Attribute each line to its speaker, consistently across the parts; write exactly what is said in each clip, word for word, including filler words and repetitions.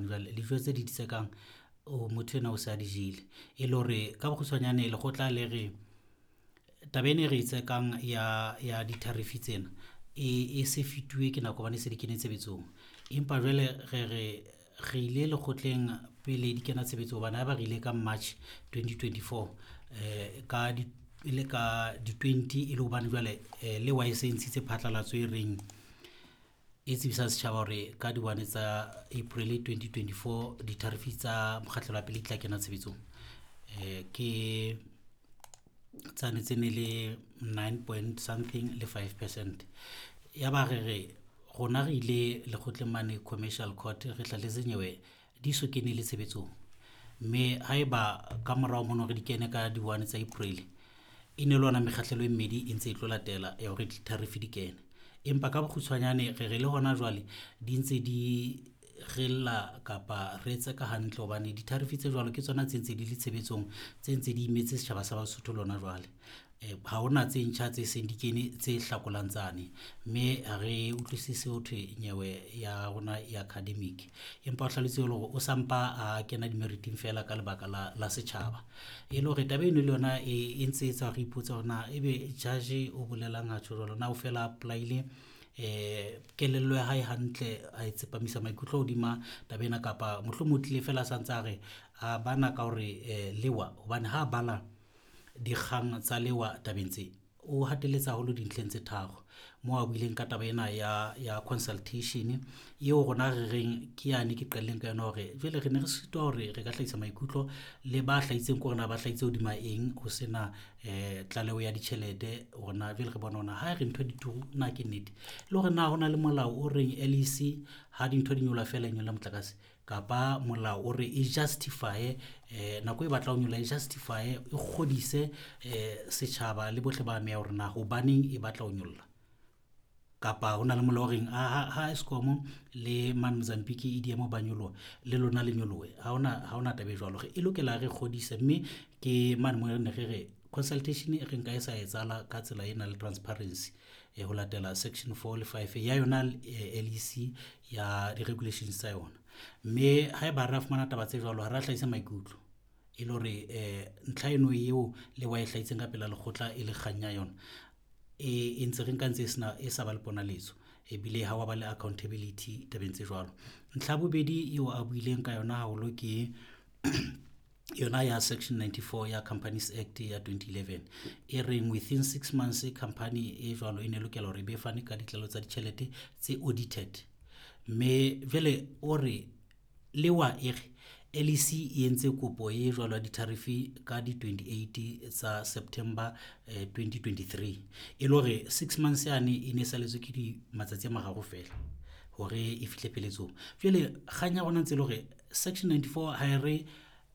Speaker 1: Hobane jwale dijo tse di tsekang o motho enwa o se a di jele. E le hore ka bokgutshwanyane lekgotla le re taba ena e re e tsekang ya ya di-tariff tsena e se fetuwe ke nako hobane e se di kene tshebetsong. Empa jwale re re, re ile lekgotleng pele di kena tshebetsong hobane ha eba re ile ka March twenty twenty-four ka di, e le ka di-twenty e le hobane jwale lewa e se e ntshitse phatlalatso e reng e tsebisang setjhaba hore ka di-one tsa April twenty twenty-four di-tariff tsa mokgahlelo wa pele di tla kena tshebetsong. Ke tsane tse ne le nine point something le five percent. Ya ba re re rona re ile lekgotleng mane commercial court re hlahletse nyewe di so kene le tshebetsong. Mme ha eba ka morao mono re di kene ka di-one tsa April, e ne le ona mekgahlelo e mmedi e ntse e tlo latela ya hore di-tariff di kene. Empa ka bokgutshwanyane re re le hona jwale di ntse di re lla kapa re tseka hantle hobane di-tariff tse jwalo ke tsona tse ntse di le tshebetsong, tse ntse di imetse setjhaba sa Basotho le hona jwale. Ha hona tse ntjha tse seng di kene tse hlakolang tsane, mme ha re utlwisise hothwe nyewe ya rona e academic. Empa o hlalositse le hore o sampa a kena di-merit-ing feela ka lebaka la, la setjhaba. E le hore taba eno le yona e ntse e etsa hore re ipotse hore na ebe judge o bolelang ha tjho jwalo, na o fela apply-ile kelello ya hae hantle, a e tsepamisa maikutlo hodima taba ena kapa mohlomong o tlile feela a santsa a re a bana ka hore lewa hobane ha bala dikgang tsa lewa tabeng tse, o hatelletse haholo dintlheng tse tharo moo a buileng ka taba ena ya, ya consultation eo rona re reng ke yane ke qadileng ka yona hore jwale re ne re sitwa hore re ka hlahisa maikutlo le ba hlahitseng ke hore na ba hlahitse hodima eng ho sena tlaleho ya ditjhelete hore na jwale re bona hore na ha re ntho di turu na ke nnete. Le hore na hona le molao o reng L E C ha dintho di nyoloha feela e nyolla motlakase kapa molao o re e justify nako e batla ho nyolla e justify e kgodise setjhaba le bohle ba ameha hore na hobaneng e batla ho nyolla. Kapa hona le molao o reng ha, ha Eskom le mane Mozambique e di ema ba nyoloha le lona le nyolohe. Ha hona, ha hona taba e jwalo. E lokela re kgodise, mme ke mane mo ne re re consultation e re nka e sa etsahala ka tsela e nang le transparency ho latela section four le five ya yona L E C ya di-regulations tsa yona. Mme haeba re a fumana taba tse jwalo, ha re a hlahisa maikutlo e le hore ntlha eno eo le wa e hlahitseng ka pela lekgotla e le kgang ya yona e ntse re nka ntse e sena, e sa ba le ponaletso ebile ha wa ba le accountability tabeng tse jwalo. Ntlha ya bobedi eo a buileng ka yona haholo ke yona ya section ninety-four ya Companies Act ya twenty eleven e reng within six months company e jwalo e ne lokela hore e be fane ka ditlaleho tsa ditjhelete tse audited. Mme jwale o re lewa e re L E C e entse kopo e jwalo ya di-tariff ka di twenty-eight tsa September twenty twenty-three. E le hore six months yane e ne saletswe ke di matsatsi a mararo feela hore e fihle pheletsong. Jwale kgang ya rona ntse le hore section ninety-four ha e re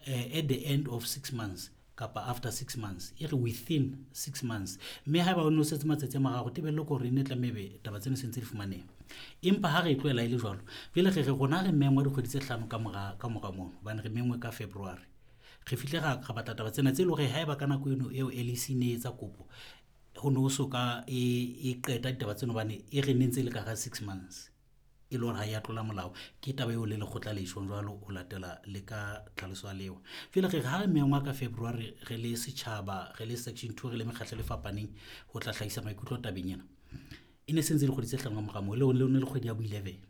Speaker 1: at the end of six months kapa after six months, e re within six months. Mme haeba o no setse matsatsi a mararo, tebello ke hore e ne tlameha ebe taba tseno se ntse di fumaneha. Empa ha re e tlohela e le jwalo, jwale re re rona re mengwa dikgwedi tse hlano ka mora, ka mora mono, hobane re mengwe ka February. Re fihle ra, ra batla taba tsena tse leng hore haeba ka nako eno eo L E C ne e etsa kopo, ho no so ka e, e qeta ditaba tseno hobane e re ne ntse e le ka hara six months. E le hore ha ya tlola molao. Ke taba eo le lekgotla le tjhong jwalo ho latela le ka tlhaloso ya lewa. Jwale re re ha re mengwa ka February re le setjhaba, re le section two, re le mekgatlo e fapaneng ho tla hlahisa maikutlo tabeng ena. E ne se ntse le kgwedi tse hlano ka mora moo, le le le kgwedi ya bo eleven.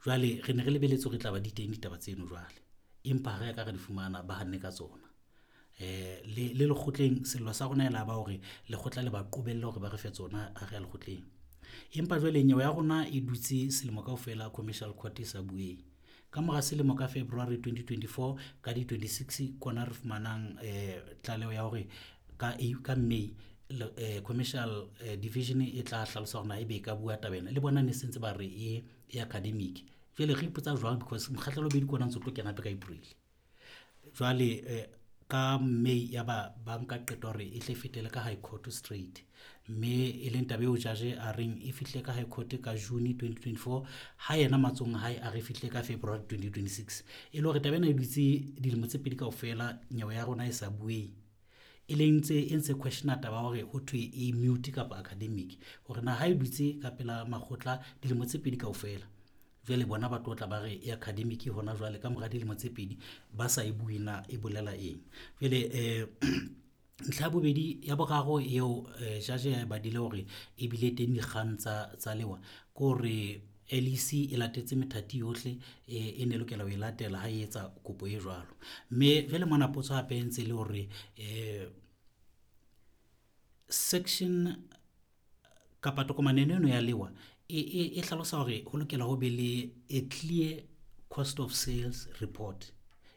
Speaker 1: Jwale re ne re lebeletse hore e tla ba di teng ditaba tseno jwale. Empa ha re ka re di fumana ba hanne ka tsona. Le, le lekgotleng sello sa rona e la ba hore lekgotla le ba qobelle hore ba re fe tsona ha re ya lekgotleng. Empa jwale nyewe ya rona e dutse selemo kaofela commercial court e sa bueng. Ka mora selemo ka February twenty twenty-four ka di twenty-six kona re fumanang tlaleho ya hore ka, ka May commercial division e tla hlalosa hore na ebe e ka bua taba ena. Le bona ne se ntse ba re e, e academic. Jwale re ipotsa jwang because mokgahlelo wa bobedi ke ona ntse o tlo kena hape ka April. Jwale ka May ya ba ba nka qeto hore e tle e fetele ka High Court straight. Mme e leng taba eo judge a reng e fihle ka High Court ka June twenty twenty-four, ha yena matsohong a hae a re fihle ka February twenty twenty-six. E le hore taba ena e dutse dilemo tse pedi kaofela nyewe ya rona e sa bueng. E leng ntse e ntse questiona taba hore ho thwe e mute kapa academic hore na ha e dutse ka pela makgotla dilemo tse pedi kaofela. Jwale bona ba tlo tla ba re e academic hona jwale ka mora dilemo tse pedi ba sa e bue na e bolela eng. Jwale um ntlha ya bobedi ya boraro eo judge ya e badile hore ebile teng dikgang tsa tsa lewa ke hore L E C e latetse methati yohle e ne lokela ho e latela ha e etsa kopo e jwalo. Mme jwale mona potso hape e ntse le hore um section kapa tokomane eno ya lewa e e hlalosa hore ho lokela ho be le a clear cost of sales report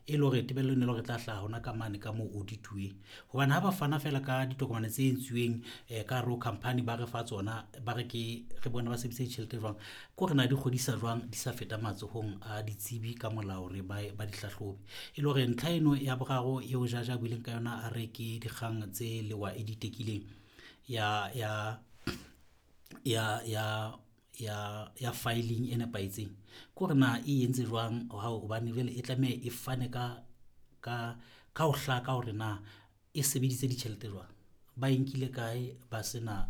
Speaker 1: e le hore tebello e ne le hore e tla hlaha hona ka mane ka moo audit-uweng. Hobane ha ba fana feela ka ditokomane tse entsweng ka hare ho company, ba re fa tsona, ba re ke re bone ba sebedisa ditjhelete jwang, ke hore na di kgodisa jwang di sa feta matsohong a ditsebi ka molao hore ba ba di hlahlobe. E le hore ntlha eno ya boraro eo judge a buileng ka yona, a re ke dikgang tse lewa e di tekileng ya ya ya ya ya ya filing e nepahetseng, ke hore na e entse jwang hobane jwale e tlameha e fane ka ka ka ho hlaka hore na e sebeditse ditjhelete jwang, ba e nkile kae, ba sena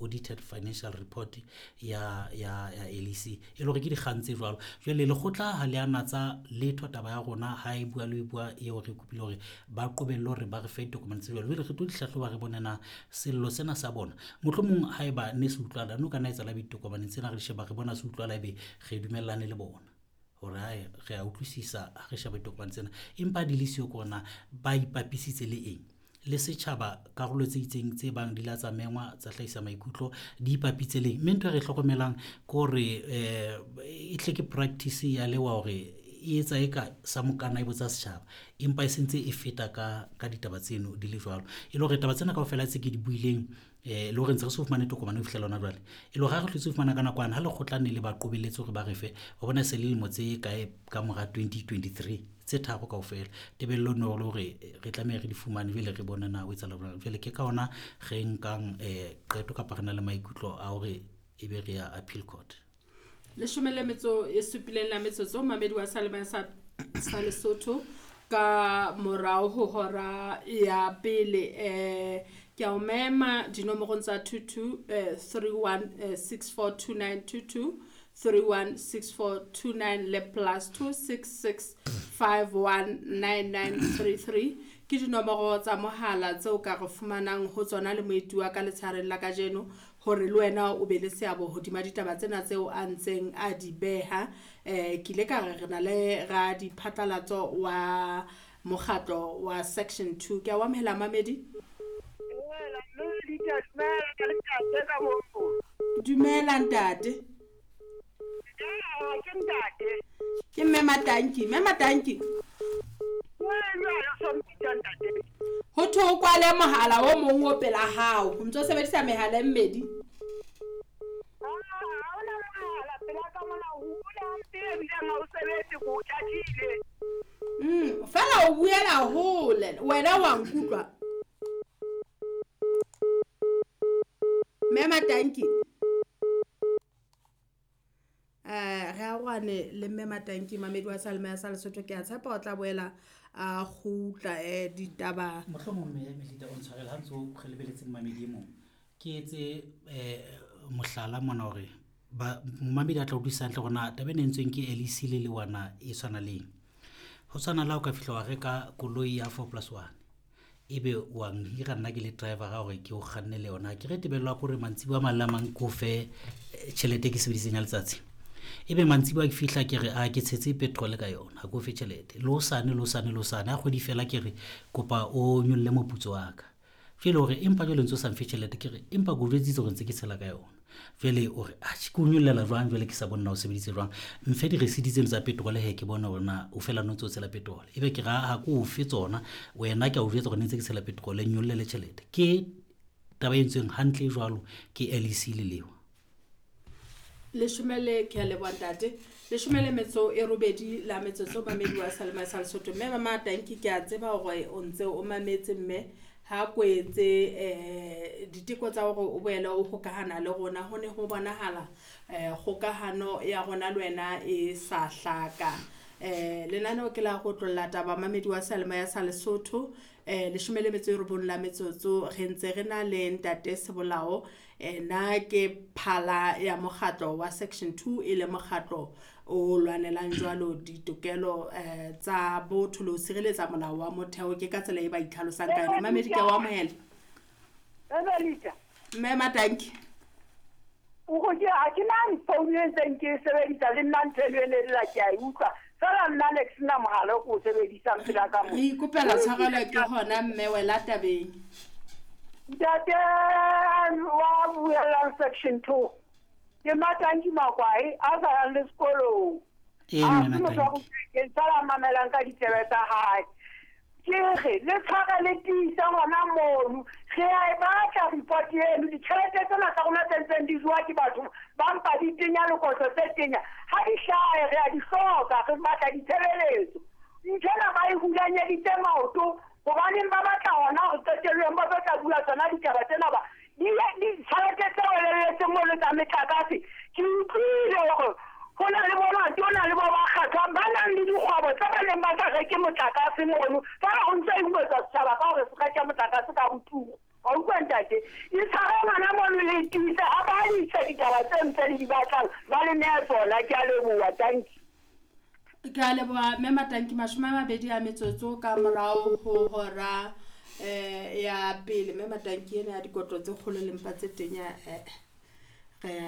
Speaker 1: audited financial report ya ya ya L E C. E le hore ke dikgang tse jwalo. Jwale lekgotla ha le a natsa letho taba ya rona ha e bua le ho bua eo re kopile hore ba qobelle hore ba re fe ditokomane tse jwalo. Jwale re tlo di hlahloba re bone na sello sena sa bona mohlomong haeba ne se utlwala, no ka nna etsahala ditokomane tsena re di sheba re bona se utlwala, ebe re dumellane le bona hore hae re a utlwisisa ha re sheba ditokomane tsena, empa di le siyo ke hore na ba ipapisitse le eng le setjhaba, karolo tse itseng tse bang di la tsa mengwa tsa hlahisa maikutlo di ipapitse leng. Mme ntho e re hlokomelang ke hore um e hle ke practice ya lewa hore e etsa eka sa mokana e botsa setjhaba, empa e sentse e feta ka ka ditaba tseno di le jwalo. E le hore taba tsena kaofela tse ke di buileng um le hore ntse re so fumane tokomane ho fihlela hona jwale, e le hore ha re hlotse ho fumana ka nakwana ha lekgotla ne le ba qobelletse hore ba re fe, wa bona se le lemo tse kae ka mora twenty twenty-three tse tharo kaofela. Tebello no le hore re tlameha re di fumane jwale re bone na ho etsahala jwang. Jwale ke ka hona re nkang um qeto kapa re na le maikutlo a hore ebe re ya appeal court.
Speaker 2: Leshome le metso e supileng la metsotso mamedi wa Salema sa sa Lesotho ka morao ho hora ya pele. Eh ke a o mema dinomorong tsa two two three one six four two nine two two three one six four two nine le plus two six six five one nine nine three three ke dinomoro tsa mohala tseo ka re fumanang ho tsona le moeti wa ka letshareng la kajeno hore le wena o be le seabo hodima ditaba tsena tseo a ntseng a di beha. Eh ke ile ka re re na le ra diphatlalatso wa mokgatlo wa section two. Ke a o amohela mamedi. Dumela ntate. Ke mme Matanki, mme Matanki. Ho thwe o kwale mohala o mong o pela hao, o ntso sebedisa mehala e mmedi. Mm, fela o buela hole, wena wa nkutlwa. Mme Matanki. Eh re arohane le mme Matanki mamedi wa Salema ya sa Lesotho. Ke a tshepa o tla boela a kgutla eh ditaba.
Speaker 1: Mohlomong mme Melita o ntshwarele ha ntso re lebeletse mamedi e mong. Ke etse eh mohlala mona hore ba mamedi a tla utlwisisa hantle hore na taba ena e entsweng ke L E C le lewana e tshwana le eng. Ho tshwana le ha o ka fihla wa reka koloi ya four plus one, ebe wa nhira nna ke le driver hore ke o kganne le yona. Ke re tebello ya hore mantsibuya a mang le a mang ke o fe tjhelete e ke sebedisitseng ya letsatsi. Ebe mantsibuya ke fihla ke re a ke tshetse petrol ka yona, ha ke o fe tjhelete. Le hosane, le hosane, le hosane ha kgwedi fela ke re kopa o nyolle moputso wa ka. Jwale hore empa jwale ntso sa mfe tjhelete, ke re empa ke o jwetsitse hore ntse ke tshela ka yona. Jwale o re atjhe ke o nyollela jwang jwale ke sa bone na o sebeditse jwang. Mfe di-receipt tseno tsa petrol he ke bone hore na o fela no ntso tshela petrol. Ebe ke ra ha ke o fe tsona, wena ke a o jwetsa hore ne ntse ke tshela petrol, nyollele tjhelete. Ke taba e entsweng hantle jwalo ke L E C le lewa.
Speaker 2: Leshome le ke a leboha ntate. Leshome le metso e robedi la metsotso mamedi wa Salema sa Lesotho. Mme Mama Tanki ke a tseba hore o ntse o mametse mme ha kwetse eh diteko tsa hore o boele o hokahana le rona ho ne ho bonahala eh kgokahano ya rona le wena e sa hlaka. Eh lenaneo ke la go tlolla taba mamedi wa Salema ya sa Lesotho. Eh leshome le metso e robong la metsotso re ntse re na le ntate Sebolao, eh na ke phala ya mokgatlo wa section two e le mokgatlo o lwanelang jwalo ditokelo eh tsa botho le ho sireletsa molao wa motheo. Ke ka tsela e ba itlhalosang ka yona. Mamedi ke wa amohela. Mme Matanki
Speaker 3: o go ke a ke nang phone e ntseng ke sebedisa le nna ntho eno e ne lla ke a e utlwa fela nna ne ke sena mogala o ke o sebedisang pela ka mo.
Speaker 2: Re ikopela tshwarelo ke hona mme wela tabeng.
Speaker 3: Ntate wa buellang section two ke Matanki Makwae a sa yang le sekolong.
Speaker 1: Ee,
Speaker 3: A
Speaker 1: mme
Speaker 3: se motho wa go
Speaker 1: Matanki.
Speaker 3: ke sala mamelang ka ditsebe tsa hae. Ke re le tshware le tiisa hona mono. Re a e batla report eno, ditjhelete tsena tsa rona tse ntseng di jowa ke batho ba mpa di tenya lekotlo tse tenya. Ha di hlahe re a di hloka, re batla ditshebeletso. Nthwena ba e hulanyeditse maoto hobaneng ba batla hona hore qetellong ba tlo tla bua tsona ditaba tsena ba di ditjhelete tse welelletseng mono tsa metlakase. Ke utlwile hore ho na le bo matona le bo ba kgathwang ba nang le dikgwebo tse ba neng ba sa reke motlakase mono. Fela ho ntso e buetsa setjhaba ka hore se reke motlakase ka botumo. Wa utlwa ntate? E tshware ngwana mono le tiise ha ba ise ditaba tse ntse le di batlang ba le nehe tsona. Ke a leboha, thank you.
Speaker 2: Ke a leboha mme Matanki. Mashome a mabedi a metsotso ka morao ho hora eh ya pele. Mme Matanki ena ya dikotlo tse kgolo le mpa tse tenya eh re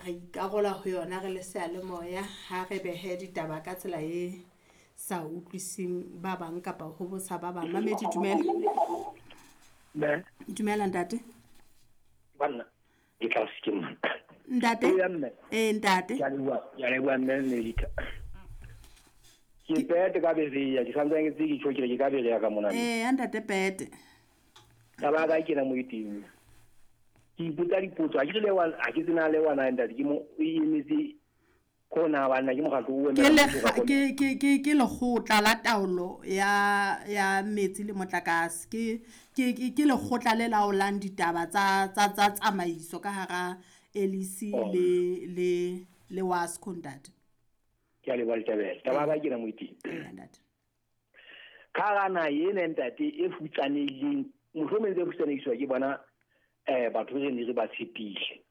Speaker 2: re ikarola ho yona re le seyalemoya ha re behe ditaba ka tsela e sa utlwising ba bang kapa ho bosa ba bang. Mamedi dumela.
Speaker 4: Mme.
Speaker 2: Dumela ntate.
Speaker 4: Banna ke tla se ke mona.
Speaker 2: Ntate.
Speaker 4: Ee, mme.
Speaker 2: Eh ntate.
Speaker 4: Ke a leboha, ke a leboha mme Melita. Ke pete ka bereya, ke santsane ke tse ke tjho ke re ke ka bereya ka mona.
Speaker 2: Eh ntate pete.
Speaker 4: Taba ya ka ke na mo teng. Ke ipotsa dipotso, ha ke le wa ha ke tsena le wana ntate ke mo o emetse kona bana ke mokgatlo o
Speaker 2: Ke
Speaker 4: emelang
Speaker 2: le
Speaker 4: mmuso ka
Speaker 2: ke ke ke ke lekgotla la taolo ya ya metsi le motlakase. Ke ke ke ke lekgotla le laolang ditaba tsa tsa tsa tsamaiso ka hara L E C
Speaker 4: Oh.
Speaker 2: le le le WASCO ntate.
Speaker 4: Ke a leboha Letebele. Taba ya ka ke na mo teng.
Speaker 2: Ee, ntate.
Speaker 4: Ka hara naha ena ntate e futsanehileng, mohlomong tse futsanehisiwa ke bona eh batho re ne re ba tshepile.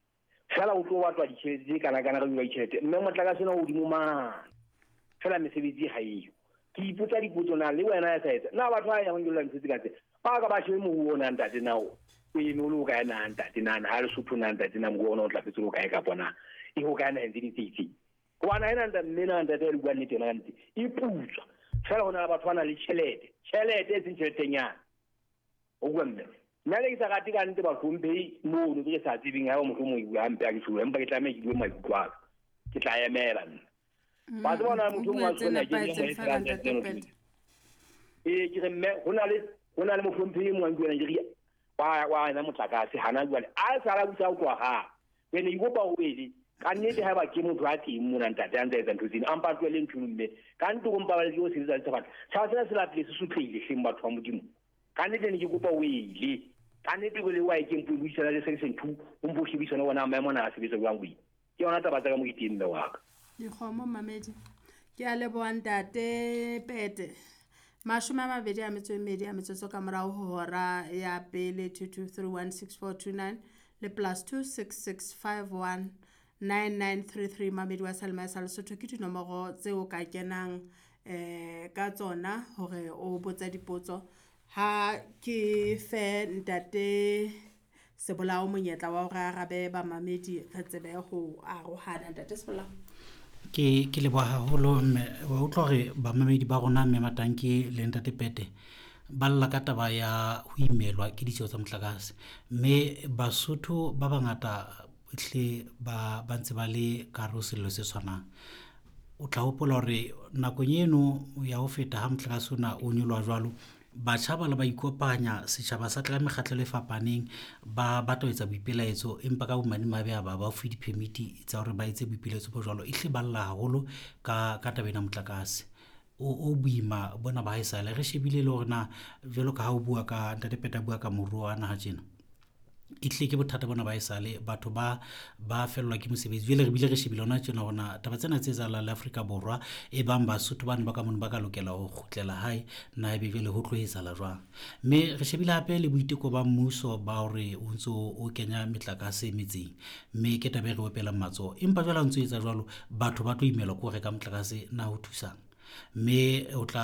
Speaker 4: Fela o tlo batlwa ditjhelete tse kana kana re bua ditjhelete mme motlakase ona o hodimo mane. Fela mesebetsi ha eyo. Ke ipotsa dipotso na le wena ya sa etsa. Na batho ba yang nyolla ntho tse ka tse. Ba ka ba shebe moruo ona ntate na o eme o le o kae na ntate na na ha Lesotho na ntate na moruo ona o ntlafetse o kae kapa na e ho kae naheng tse ding tse itseng. Hobane ha ena ntate mme na ntate ya le bua nnete yona ka nnete e putswa. Fela ho na le batho ba nang le tjhelete. Tjhelete e seng tjheletenyana. O bua mme. Nna le ke sa rate ka nnete bahlomphehi mono ke sa tsebeng ha mohlomong e bua hampe ha ke tjho, empa ke tlameha ke bue maikutlo a ka. Ke tla emela nna. Ba tseba hona motho o mong
Speaker 2: O
Speaker 4: a
Speaker 2: bua tse
Speaker 4: tshwana ke
Speaker 2: nepahetseng
Speaker 4: eng,
Speaker 2: fela
Speaker 4: a
Speaker 2: ntate
Speaker 4: etsang
Speaker 2: Pete.
Speaker 4: Ee, ke re mme ho na le ho na le mohlomphehi e mong a nkuwena ke re wa wa ena motlakase hana jwale a sala busa ho tloha ha. Ke ne ke kopa ho ele ka nnete haeba ke motho a teng mona ntate a ntse a etsa ntho tsena, a mpa a tlohele ntho eno mme. Ka nnete o mpa ba le ke o sebetsa le sebaka. Tjhaba sena se lapile se sotlehile hleng batho ba Modimo. Ka nnete ne ke kopa o ele. Ka nnete o le wa e ke mpo buisana le section two, o mpo shebisana bona maemo ana a sebetsa jwang o ile. Ke yona taba tsa ka mo ke teng mme wa ka.
Speaker 2: Dikgomo mamedi. Ke a leboha ntate Pete. Mashome a mabedi a metso e mmedi a metsotso ka morao ho hora ya pele two two three one six four two nine le plus two six six five one nine nine three three. Mamedi wa Salma sa Lesotho ke dinomoro tseo ka kenang eh ka tsona hore o botsa dipotso. Ha ke fe ntate Sebolao monyetla wa hore a arabe bamamedi re tsebe ho arohana. Ntate Sebolao.
Speaker 1: Ke ke leboha haholo mme wa utlwa hore bamamedi ba rona mme Matanki le ntate Pete ba lla ka taba ya ho imelwa ke ditjeo tsa motlakase. Mme Basotho ba bangata hle ba ba ntse ba le ka hare ho sello se tshwanang. O tla hopola hore nakong eno ya ho feta ha motlakase ona o nyoloha jwalo, batjha ba le ba ikopanya setjhaba sa tla mekgatlelo e fapaneng ba batla ho etsa boipelaetso, empa ka bomadimabe ha ba ba fuwe di-permit tsa hore ba etse boipelaetso bo jwalo. E hle ba lla haholo ka ka taba ena motlakase o o boima bona ba haesale. Re shebile le hore na jwalo ka ha o bua ka ntate Pete a bua ka moruo wa naha tjena, E tlile ke bothata bona ba esale batho ba ba fellwa ke mosebetsi. Jwale re bile re shebile hona tjena hore na taba tsena tse etsahalang le Afrika Borwa, e bang Basotho bane ba ka mono ba ka lokela ho kgutlela hae, na ebe jwale ho tlo etsahala jwang. Mme re shebile hape le boiteko ba mmuso ba hore o ntso o kenya metlakase metseng, mme ke taba e re opelang matsoho. Empa jwale ha o ntso etsa jwalo, batho ba tlo imelwa ke ho reka motlakase, na ho thusang? Mme o tla